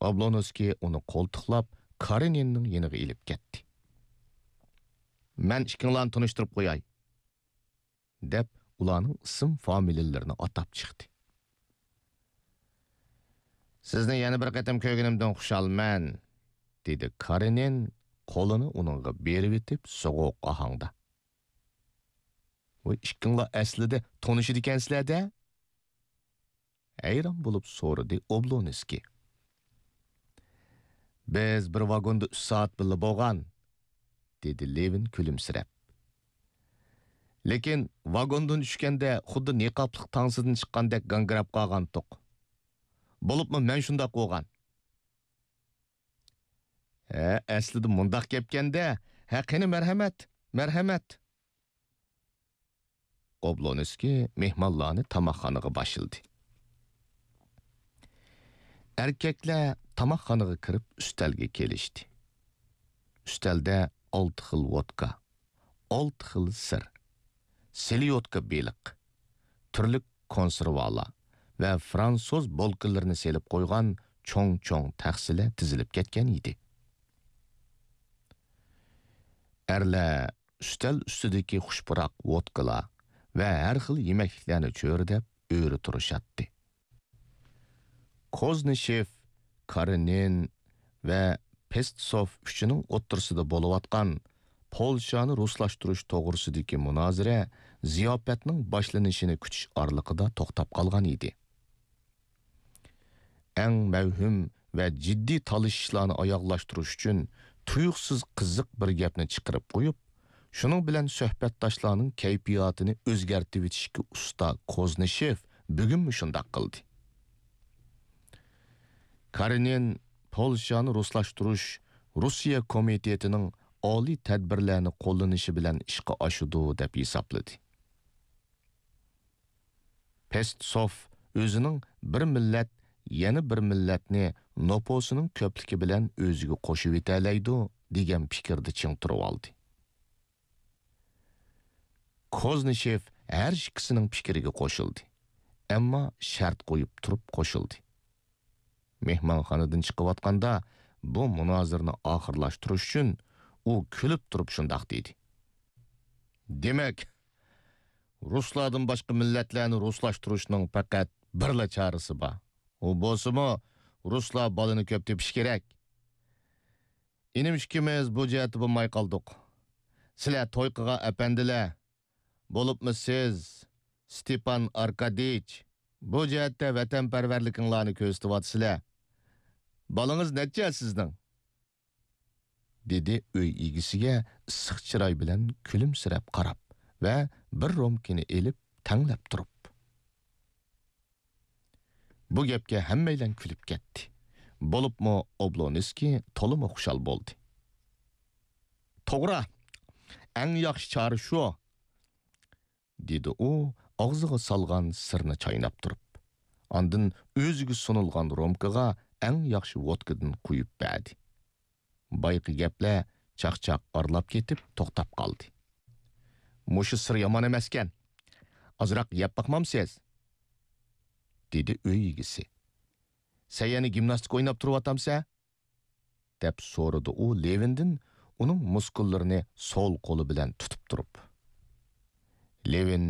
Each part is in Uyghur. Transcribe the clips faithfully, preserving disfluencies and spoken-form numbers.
ئابلونسكىي ئۇنى قولتۇقلاپ، كارېنىننىڭ يېنىغا ئېلىپ كەتتى. مەن ئىككىڭلارنى تونۇشتۇرۇپ قوياي، دەپ، ئۇلارنىڭ ئىسىم فامىلىلىرىنى ئاتاپ چىقتى. سىزنى يەنە بىر قېتىم كۆرگىنىمدىن خۇشالمەن، دېدى كارېنىن، قولىنى ئۇنىڭغا بېرىۋېتىپ، سوغۇق ئاھاڭدا. ۋاي، ئىككىڭلار ئەسلىدە تونۇشىدىكەنسىلەر-دە؟ ھەيران بولۇپ سورىدى ئوبلونسكىي. بىز بىر ۋاگوندا ئۈچ سائەت بىللە بولغان، دېدى لېۋىن كۈلۈمسىرەپ. لېكىن ۋاگوندىن چۈشكەندە خۇددى نىقابلىق تانسىدىن چىققاندەك گاڭگىراپ قالغانتۇق. بولۇپمۇ مەن شۇنداق بولغان. ھە، ئەسلىدە مۇنداق گەپكەندە. ھە، قېنى، مەرھەمەت، مەرھەمەت. ئوبلونسكىي مېھمانلارنى تاماقخانىغا باشلىدى. ئەركەكلەر تاماقخانىغا كىرىپ ئۈستەلگە كېلىشتى. ئۈستەلدە ئالتە خىل ۋودكا، ئالتە خىل سىر، سېليوتكا بېلىق، تۈرلۈك كونسېرۋالار ۋە فرانسۇز بولكىلىرىنى سېلىپ قويغان چوڭ-چوڭ تەخسىلەر تىزىلىپ كەتكەن ئىدى. ئەرلەر ئۈستەل ئۈستىدىكى خۇش پۇراق ۋودكىلار ۋە ھەر خىل يېمەكلىكلەرنى چۆرىدەپ ئۆرە تۇرۇشاتتى. كوزنىشېف، كارېنىن ۋە پېستسوف ئۈچىنىڭ ئوتتۇرىسىدا بولۇۋاتقان پولشانى رۇسلاشتۇرۇش توغرىسىدىكى مۇنازىرە زىياپەتنىڭ باشلىنىشىنى كۈتۈش ئارىلىقىدا توختاپ قالغان ئىدى. ئەڭ مەۋھۇم ۋە جىددىي تالىشىشلارنى ئاياغلاشتۇرۇش ئۈچۈن تۇيۇقسىز قىزىق بىر گەپنى چىقىرىپ قويۇپ، شۇنىڭ بىلەن سۆھبەتداشلارنىڭ كەيپىياتىنى ئۆزگەرتىۋېتىشكە ئۇستا كوزنىشېف بۈگۈنمۇ شۇنداق قىلدى. كارېنىن پولشانى رۇسلاشتۇرۇش روسىيە كومىتېتىنىڭ ئالىي تەدبىرلەرنى قوللىنىشى بىلەن ئىشقا ئاشىدۇ دەپ ھېسابلىدى. پېستسوف ئۆزىنىڭ بىر مىللەت يەنە بىر مىللەتنى نوپۇسىنىڭ كۆپلۈكى بىلەن ئۆزىگە قوشۇۋېتەلەيدۇ دېگەن پىكىردە چىڭ تۇرۇۋالدى. كوزنىشېف ھەر ئىككىسىنىڭ پىكرىگە قوشۇلدى، ئەمما شەرت قويۇپ تۇرۇپ قوشۇلدى. مېھمانخانىدىن چىقىۋاتقاندا بۇ مۇنازىرىنى ئاخىرلاشتۇرۇش ئۈچۈن ئۇ كۈلۈپ تۇرۇپ شۇنداق دېدى. دېمەك، رۇسلاردىن باشقا مىللەتلەرنى رۇسلاشتۇرۇشنىڭ پەقەت بىرلا چارىسى بار. ئۇ بولسىمۇ، رۇسلار بالىنى كۆپ تېپىشى كېرەك. ئىنىم ئىككىمىز بۇ جەھەتتە بولماي قالدۇق. سىلەر توي قىلغان ئەپەندىلەر، بولۇپمۇ سىز، ستېپان ئاركادىيچ، بۇ جەھەتتە ۋەتەنپەرۋەرلىكىڭلارنى كۆرسىتىۋاتىسىلەر. بالىڭىز نەچچە سىزنىڭ؟ دېدى ئۆي ئىگىسىگە ئىسسىق چىراي بىلەن كۈلۈمسىرەپ قاراپ ۋە بىر رومكىنى ئېلىپ تەڭلەپ تۇرۇپ. بۇ گەپكە ھەممەيلەن كۈلۈپ كەتتى. بولۇپمۇ ئوبلونسكىي تولىمۇ خۇشال بولدى. توغرا، ئەڭ ياخشى چارە شۇ، دېدى ئۇ ئاغزىغا سالغان سىرنى چايناپ تۇرۇپ. ئاندىن ئۆزىگە سۇنۇلغان رومكىغا ئەڭ ياخشى ۋودكىدىن قۇيۇپ بەردى. بايىقى گەپلەر چاقچاق ئارىلاپ كېتىپ توختاپ قالدى. مۇشۇ سىر يامان ئەمەسكەن. ئازراق يەپ باقمامسىز؟ دېدى ئۆي ئىگىسى. سەن يەنە گىمناستىكا ئويناپ تۇرۇۋاتامسەن؟ دەپ سورىدى ئۇ لېۋىندىن ئۇنىڭ مۇسكۇللىرىنى سول قولى بىلەن تۇتۇپ تۇرۇپ. لېۋىن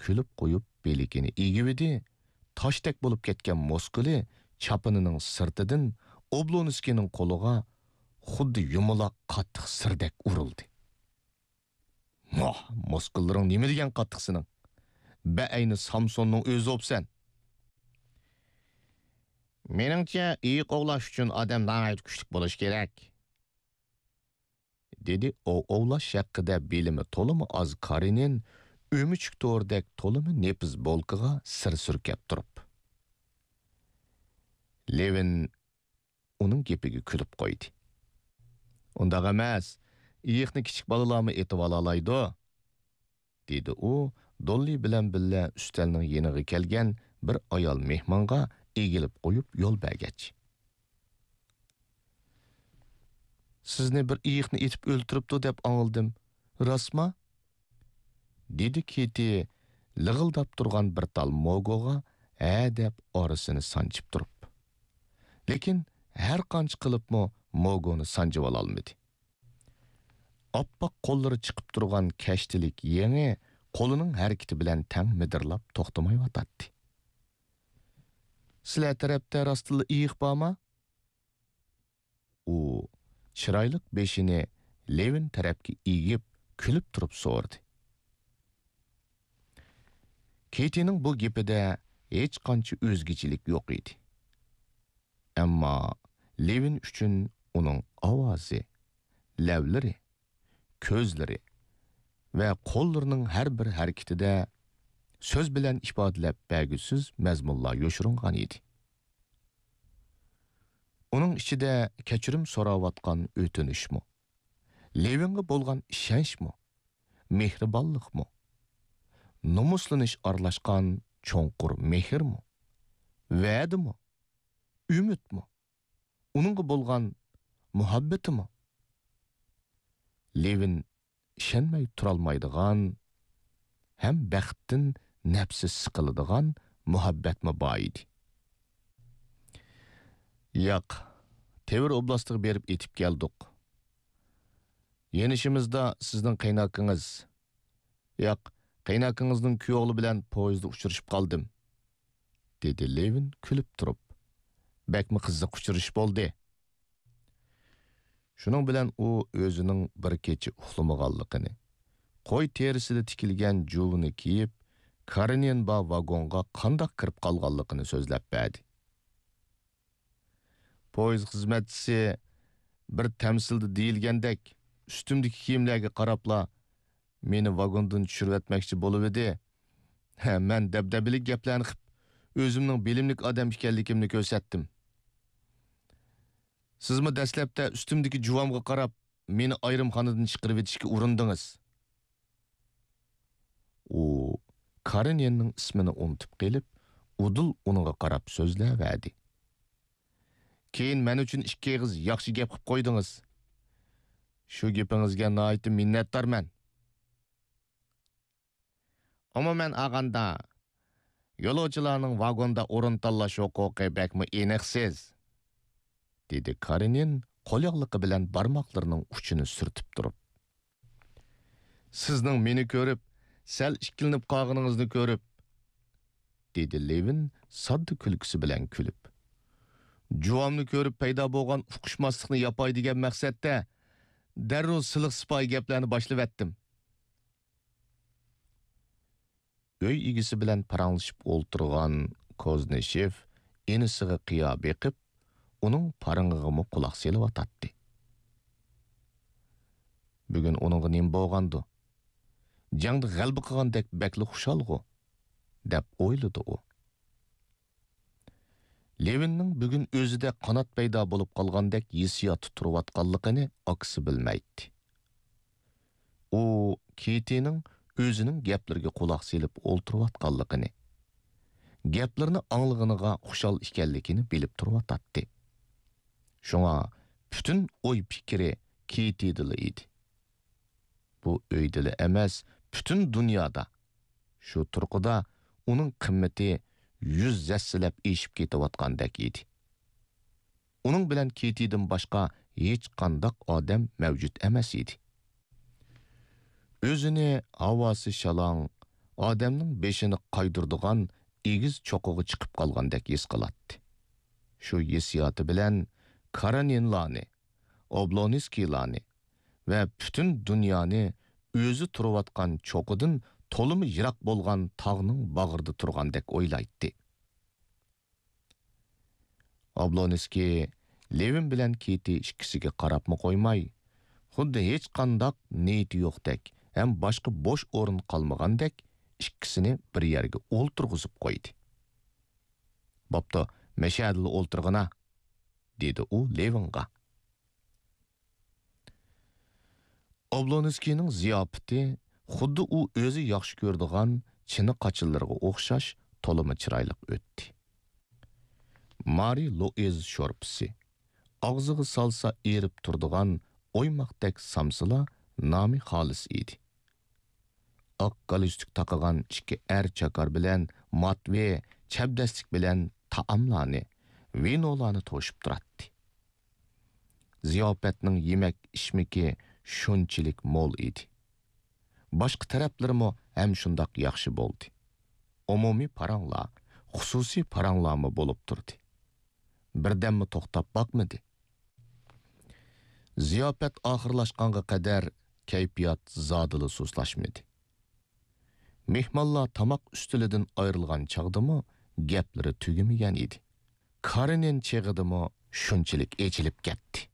كۈلۈپ قويۇپ بىلىكىنى ئېگىۋىدى، تاشتەك بولۇپ كەتكەن مۇسكۇلى چاپىنىنىڭ سىرتىدىن ئوبلونسكىينىڭ قولىغا خۇددى يۇمىلاق قاتتىق سىردەك ئۇرۇلدى. ۋاھ، مۇسكۇللىرىڭ نېمە دېگەن قاتتىق سېنىڭ؟ بەئەينى سامسوننىڭ ئۆزى بوپسەن. مېنىڭچە، ئېيىق ئوۋلاش ئۈچۈن ئادەم ناھايىتى كۈچلۈك بولۇشى كېرەك، دېدى ئوۋ ئوۋلاش ھەققىدە بىلىمى تولىمۇ ئاز كارىنىن ئۆمۈچۈك تورىدەك تولىمۇ نېپىز بولكىغا سىر سۈركەپ تۇرۇپ. لېۋىن ئۇنىڭ گېپىگە كۈلۈپ قويدى. ئۇنداق ئەمەس، ئېيىقنى كىچىك بالىلارمۇ ئېتىۋالالايدۇ، دېدى ئۇ دوللى بىلەن بىللە ئۈستەلنىڭ يېنىغا كەلگەن بىر ئايال مېھمانغا ئېگىلىپ قويۇپ يول بەرگەچ. سىزنى بىر ئېيىقنى ئېتىپ ئۆلتۈرۈپتۇ دەپ ئاڭلىدىم، راستما؟ دېدى كىتى لىغىلداپ تۇرغان بىر تال موگوغا ھە دەپ ئارىسىنى سانچىپ تۇرۇپ. لېكىن ھەر قانچە قىلىپمۇ موگونى سانجىۋالالمىدى. ئاپئاق قوللىرى چىقىپ تۇرغان كەشتىلىك يېڭى قولىنىڭ ھەرىكىتى بىلەن تەڭ مىدىرلاپ توختىمايۋاتاتتى. سىلەر تەرەپتە راستتىنلا ئېيىق بارما؟ ئۇ چىرايلىق بېشىنى لېۋىن تەرەپكە ئېگىپ، كۈلۈپ تۇرۇپ سورىدى. كېتىنىڭ بۇ گېپىدە ھېچقانچە ئۆزگىچىلىك يوق ئىدى. ئەمما لېۋىن ئۈچۈن ئۇنىڭ ئاۋازى، لەۋلىرى، كۆزلىرى ۋە قوللىرىنىڭ ھەر بىر ھەرىكىتىدە سۆز بىلەن ئىپادىلەپ بەرگۈسىز مەزمۇنلار يوشۇرۇنغان ئىدى. ئۇنىڭ ئىچىدە كەچۈرۈم سوراۋاتقان ئۆتۈنۈشمۇ، لېۋىنغا بولغان ئىشەنچمۇ، مېھرىبانلىقمۇ، نومۇسلىنىش ئارىلاشقان چوڭقۇر مېھىرمۇ، ۋەدىمۇ، ئۈمىدمۇ، ئۇنىڭغا بولغان مۇھەببىتىمۇ؟ لېۋىن ئىشەنمەي تۇرالمايدىغان ھەم بەختتىن نەپسى سىقىلىدىغان مۇھەببەتمۇ بار ئىدى. ياق، تېۋىر ئوبلاستىغا بېرىپ ئېتىپ كەلدۇق. يېنىشىمىزدا سىزنىڭ قېيىنئاكىڭىز، ياق، قېيىنئاكىڭىزنىڭ كۈيئوغلى بىلەن پويىزدا ئۇچرىشىپ قالدىم، دېدى لېۋىن كۈلۈپ تۇرۇپ. بەكمۇ قىزىق ئۇچرىشىش بولدى. شۇنىڭ بىلەن ئۇ ئۆزىنىڭ بىر كېچە ئۇخلىمىغانلىقىنى، قوي تېرىسىدە تىكىلگەن جۇۋىنى كىيىپ، كارېنىن بار ۋاگونغا قانداق كىرىپ قالغانلىقىنى سۆزلەپ بەردى. پويىز خىزمەتچىسى بىر تەمسىلدە دېيىلگەندەك، ئۈستۈمدىكى كىيىملەرگە قاراپلا مېنى ۋاگوندىن چۈشۈرۈۋەتمەكچى بولۇۋىدى. ھە، مەن دەبدەبىلىك گەپلەرنى قىپ، ئۆزۈمنىڭ بىلىملىك ئادەم ئىكەنلىكىمنى كۆرسەتتىم. سىزمۇ دەسلەپتە ئۈستۈمدىكى جۇۋامغا قاراپ، مېنى ئايرىمخانىدىن چىقىرىۋېتىشكە ئۇرۇندىڭىز. ئۇ كارېنىننىڭ ئىسمىنى ئۇنتۇپ قېلىپ، ئۇدۇل ئۇنىڭغا قاراپ سۆزلەۋەردى. كېيىن مەن ئۈچۈن ئىككى ئېغىز ياخشى گەپ قىپ قويدىڭىز. شۇ گېپىڭىزگە ناھايىتى مىننەتدارمەن. ئومۇمەن ئالغاندا، يولۇچىلارنىڭ ۋاگوندا ئورۇن تاللاش ھوقۇقى بەكمۇ ئېنىقسىز، دېدى كارېنىن قولياغلىقى بىلەن بارماقلىرىنىڭ ئۇچىنى سۈرتۈپ تۇرۇپ. سىزنىڭ مېنى كۆرۈپ، سەل ئىككىلىنىپ قالغىنىڭىزنى كۆرۈپ، دېدى لېۋىن ساددا كۈلكىسى بىلەن كۈلۈپ. جۇۋامنى كۆرۈپ پەيدا بولغان ئۇقۇشماسلىقنى ياپاي دېگەن مەقسەتتە، دەررۇ سىلىق سىپايى گەپلەرنى باشلىۋەتتىم. ئۆي ئىگىسى بىلەن پاراڭلىشىپ ئولتۇرغان كوزنىشېف ئىنىسىغا قىيا بېقىپ، ئۇنىڭ پارىڭىغىمۇ قۇلاق سېلىۋاتاتتى. بۈگۈن ئۇنىڭغا نېمە بولغاندۇ؟ جەڭدە غەلىبە قىلغاندەك بەكلا خۇشالغۇ، دەپ ئويلىدى ئۇ. لېۋىننىڭ بۈگۈن ئۆزىدە قانات پەيدا بولۇپ قالغاندەك ھېسسىياتتا تۇرۇۋاتقانلىقىنى ئاكىسى بىلمەيتتى. ئۇ كېتىنىڭ ئۆزىنىڭ گەپلىرىگە قۇلاق سېلىپ ئولتۇرۇۋاتقانلىقىنى، گەپلىرىنى ئاڭلىغىنىغا خۇشال ئىكەنلىكىنى بىلىپ تۇرۇۋاتاتتى. شۇڭا پۈتۈن ئوي پىكرى كېتىدىلا ئىدى. بۇ ئۆيدىلا ئەمەس، پۈتۈن دۇنيادا، شۇ تۇرقىدا ئۇنىڭ قىممىتى يۈز ھەسسىلەپ ئېشىپ كېتىۋاتقاندەك ئىدى. ئۇنىڭ بىلەن كېتىدىن باشقا ھېچقانداق ئادەم مەۋجۇت ئەمەس ئىدى. ئۆزىنى ھاۋاسى شالاڭ، ئادەمنىڭ بېشىنى قايدۇرىدىغان ئېگىز چوققىغا چىقىپ قالغاندەك ھېس قىلاتتى. شۇ ھېسسىياتى بىلەن كارېنىنلارنى، ئوبلونسكىيلارنى ۋە پۈتۈن دۇنيانى ئۆزى تۇرۇۋاتقان چوققىدىن تولىمۇ يىراق بولغان تاغنىڭ باغرىدا تۇرغاندەك ئويلايتتى. ئوبلونسكىي لېۋىن بىلەن كېتى ئىككىسىگە قاراپمۇ قويماي، خۇددى ھېچقانداق نىيىتى يوقتەك ھەم باشقا بوش ئورۇن قالمىغاندەك ئىككىسىنى بىر يەرگە ئولتۇرغۇزۇپ قويدى. بوپتۇ، مەشەدىلا ئولتۇرغىنا، دېدى ئۇ لېۋىنغا. ئوبلونسكىينىڭ زىياپىتى خۇددى ئۇ ئۆزى ياخشى كۆرىدىغان چىنە قاچىلىرىغا ئوخشاش تولىمۇ چىرايلىق ئۆتتى. مارى لوئىز شورپىسى، ئاغزىغا سالسا ئېرىپ تۇرىدىغان ئويماقتەك سامسىلا نامى خالىس ئىدى. ئاق گالستۇك تاقىغان ئىككى ئەر چاكار بىلەن ماتۋې چەبدەسلىك بىلەن تائاملارنى، ۋىنولارنى توشۇپ تۇراتتى. زىياپەتنىڭ يېمەك-ئىچمىكى شۇنچىلىك مول ئىدى. باشقا تەرەپلىرىمۇ ھەم شۇنداق ياخشى بولدى. ئومۇمىي پاراڭلار، خۇسۇسىي پاراڭلارمۇ بولۇپ تۇردى. بىردەممۇ توختاپ باقمىدى. زىياپەت ئاخىرلاشقانغا قەدەر كەيپىيات زادىلا سۇسلاشمىدى. مېھمانلار تاماق ئۈستىلىدىن ئايرىلغان چاغدىمۇ گەپلىرى تۈگىمىگەن ئىدى. كارېنىن چېغىدىمۇ شۇنچىلىك ئېچىلىپ كەتتى.